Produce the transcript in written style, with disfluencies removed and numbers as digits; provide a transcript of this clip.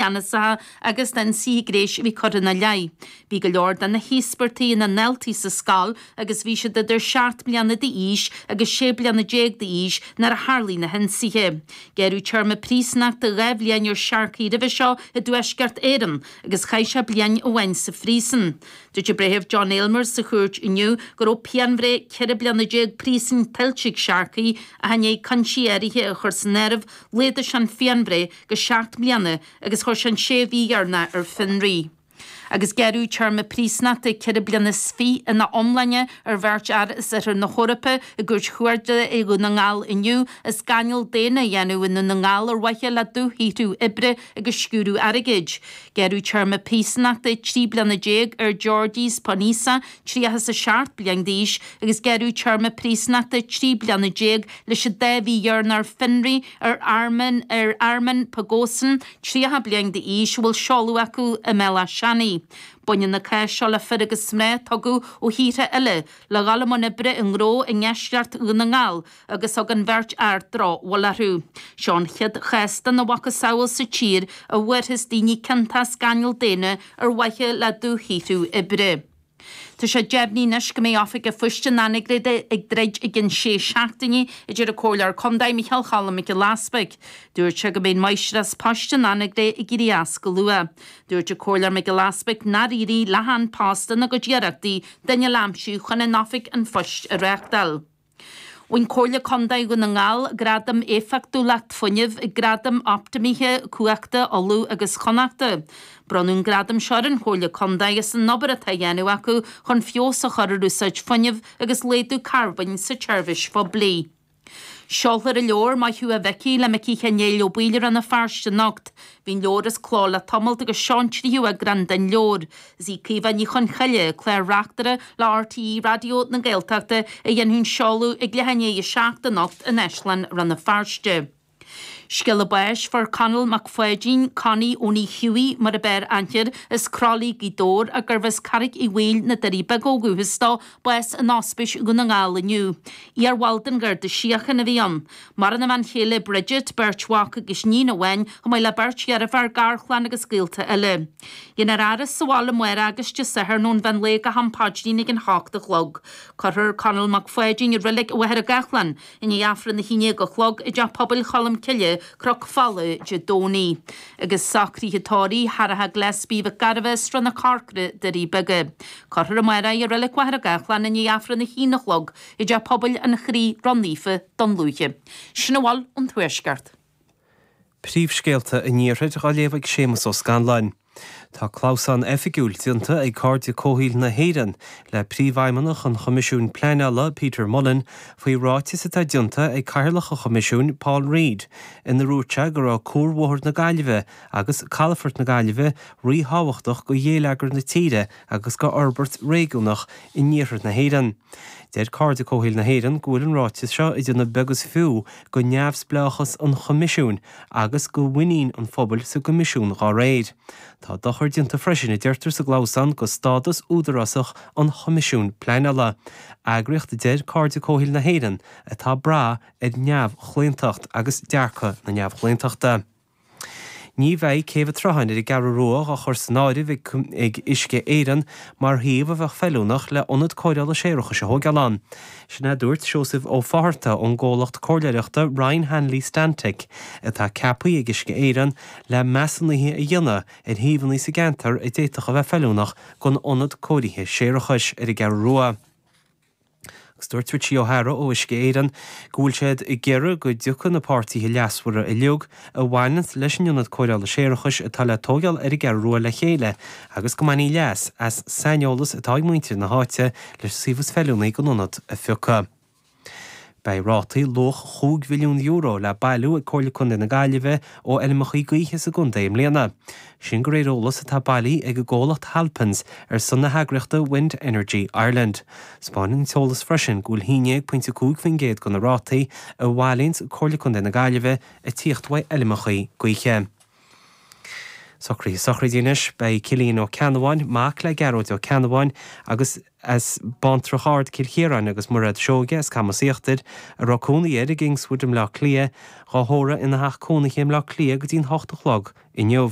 Cheannasacha agus d'ionsaithe gnéis a bhí curtha ina leith. Bhí go leor de na híospartaigh ina ndaltaí sa scoil agus bhí siad idir 7 mbliana d'aois agus 16 bliana d'aois nuair a tharlaigh na hionsaithe. Gearradh téarma príosúnachta 2 bhliain ar Sharkey roimhe seo i dTuaisceart Éireann agus chaith sé bliain amháin sa phríosún. Dúirt an Breitheamh John Aylmer sa chúirt inniu go raibh pianbhreith 14 bliana príosúin tuillte ag Sharkey ach i ndiaidh cúinsí áirithe a chur san áireamh laghdaigh sé an phianbhreith go 7 mbliana agus chuir sé an sé mhí dheireanach ar fionraí. Agus gearradh téarma príosúnachta 4 bliana is fiche ina iomláine ar bheirt fhear as Oirthear na hEorpa i gCúirt Chuarda i Dhún na nGall inniu as gáinneáil daonna a dhéanamh i nDún na nGall ar mhaithe le dúshaothrú oibre agus sciúradh airgid. Gearradh téarma príosúnachta 13 bliana ar Georgis Ponisa, 37 bliain d'aois, agus gearradh téarma príosúnachta 13 bliana leis an dá mhí dheireanach ar fionraí ar Armen ar Armen Pogossian, 30 bliain d'aois, a bhfuil seoladh acu i mBéal Átha Seanaidh. Baineann na cáis seo le fir agus mná a tugadh ó thíortha eile le dhul i mbun oibre i ngnó i ndeisceart Dhún na nGall agus thug an bheirt fhear drochbhail orthu. Seo an chéad chás dena mhacasamhail sa tír a bhfuarthas daoine ciontach as gáinneáil daonna ar mhaithe le dúshaothrú oibre. Tá sé deimhnithe anois go mbeidh Oifig an Phoist in Anagaire ag druid i gcionn sé seachtaine, a deir an Comhairleoir Contae Micheál Cholm Mac Giolla Easbuig. Dúirt sé go mbeidh an Mháistreás Poist in Anagaire ag éirí as go luath. Dúirt an Comhairleoir Mac Giolla Easbuig nár éirigh le An Post ina gcuid iarrachtaí duine le aimsiú chun an Oifig an Phoist a reáchtáil. Bhain Comhairle Contae Dhún na nGall Gradam Éifeachtúlacht Fuinnimh ag Gradaim Optamaithe Cumhachta Uladh agus Chonnachta. Bronnadh an gradam seo ar an Chomhairle Contae as an obair atá á dhéanamh acu chun feabhas a chur ar úsáid fuinnimh agus laghdú carbóin sa tseirbhís phoiblí. Seolfar an leabhar Maith Thú a Mhicí le Micí Chenéil Ó Baoill i Rann na Feirste anocht. Bhí an leabhar as cló le tamalt agus seo an tríú eagrán den leabhar. Is í Caoimhe Ní Chonchoille, Clár-Reachtaire le RTÉ Raidió na Gaeltachta, a dhéanfaidh an seoladh ag leath i ndiaidh 7 anocht in Áislann Rann na Feirste. Scéala báis Fuair Conall Mac Pháidín, Connie Owenie Hughie mar ab fhearr aithne air, as Croithlí, Gaoth Dobhair, ach gurbh as Carraig Uí Bhaoill, na Doirí Beaga ó dhúchas dó, bás in Ospís Dhún na nGall inniu. Iarbhall den Gharda Síochána a bhí ann. Maireann a bhean chéile Bridget, beirt mhac agus iníon amháin, chomh maith le beirt dheirféar, garchlann agus gaolta eile. Déanfar a fhaire sa bhaile amárach agus Dé Sathairn ón mheán lae go ham paidrín ag an hocht a chlog. Cuirfear Conall Mac Pháidín i Reilig Mhachaire Gathlán i ndiaidh Aifreann 11 a chlog i dTeach Pobail Cholm Cille, Cnoc Fola, Dé Domhnaigh. Agus socruithe tórraimh Tharraithe Gillespie Mhic Gairbheith, Srath na Corcra, Doirí Beaga. Cuirfear amárach é i Reilig Mhachaire Gathlán i ndiaidh Aifreann 1 a chlog i dTeach Pobail an Chroí Ró-Naofa, Dún Lúiche. Sin a bhfuil ón Tuaisceart. Príomhscéalta an Iarthair á léamh ag Séamus Ó Scanláin. Tá clamhsán oifigiúil déanta ag Cairde Comhshaoil na hÉireann le Príomhfheidhmeannach an Choimisiúin Pleanála, Peter Mullen, faoi ráiteas atá déanta ag Cathaoirleach an Choimisiúin, Paul Reid, ina ndúirt sé go raibh Cuarbhóthar na Gaillimhe agus Calafort na Gaillimhe ríthábhachtach do gheilleagar na tíre agus do fhorbairt réigiúnach in iarthar na hÉireann. Deir Cairde Comhshaoil na hÉireann go bhfuil an ráiteas seo ag déanamh beag is fiú go neamhspleáchas an Choimisiúin agus go mhuinín an phobail sa gCoimisiún dá réir. Tá dochar déanta freisin, a deirtear sa gclamhsán, go stádas údarásach an Choimisiúin Pleanála, eagraíocht a deir Cairde Comhshaoil na hÉireann atá ag brath ar neamhchlaontacht agus dearcadh na neamhchlaontachta. Ní bheidh Céibh an tSrutháin ar an gCeathrú Rua á chur san áireamh ag Uisce Éireann mar shuíomh a bheadh feiliúnach le ionad cóireála séarachais a thóigeáil ann. Sin é a dúirt Seosamh Ó Fátharta ón gcomhlacht comhairleoireachta Ryan Hanley Stantec atá ceaptha ag Uisce Éireann le measúnuithe a dhéanamh ar shuíomhanna sa gceantar a d'fhéadfadh a bheith feiliúnach don ionad cóirithe séarachais ar an gCeathrú Rua. Agus dúirt Richie O'Hara ó Uisce Éireann go bhfuil siad ag iarraidh go dtiocfaidh na páirtithe leasmhara uilig a bhaineanns leis an ionad cóireála séarachais atá le tóigeáil ar an gCeathrú Rua le chéile agus go mbainfí leas as saineolas atá ag muintir na háite leis an suíomh is feiliúnaí don ionad a phiocadh. Beidh rátaí luach €5 mhilliún le bailiú ag Comhairle Contae na Gaillimhe ó fheilmeachaí gaoithe sa gcontae i mbliana. Sin de réir eolas atá bailithe ag an gcomhlacht Halpins ar son na heagraíochta Wind Energy Ireland. 'Spáineann an t-eolas freisin go bhfuil 11.5% de na rátaí a bhailíonns Comhairle Contae na Gaillimhe ag tíocht uaidh fheilmeachaí gaoithe. Socruithe sochraide anois. Beidh Cillian Ó Ceannabháin, mac le Gearóid Ó Ceannabháin agus as Baintreach Ard, Cill Chiaráin agus Mairéad Seoige as Camas Íochtair, a raibh cónaí air i gKingswood i mBleá Cliath, dhá thórramh ina theach cónaithe i mBleá Cliath go dtí'n 8 a chlog inniu.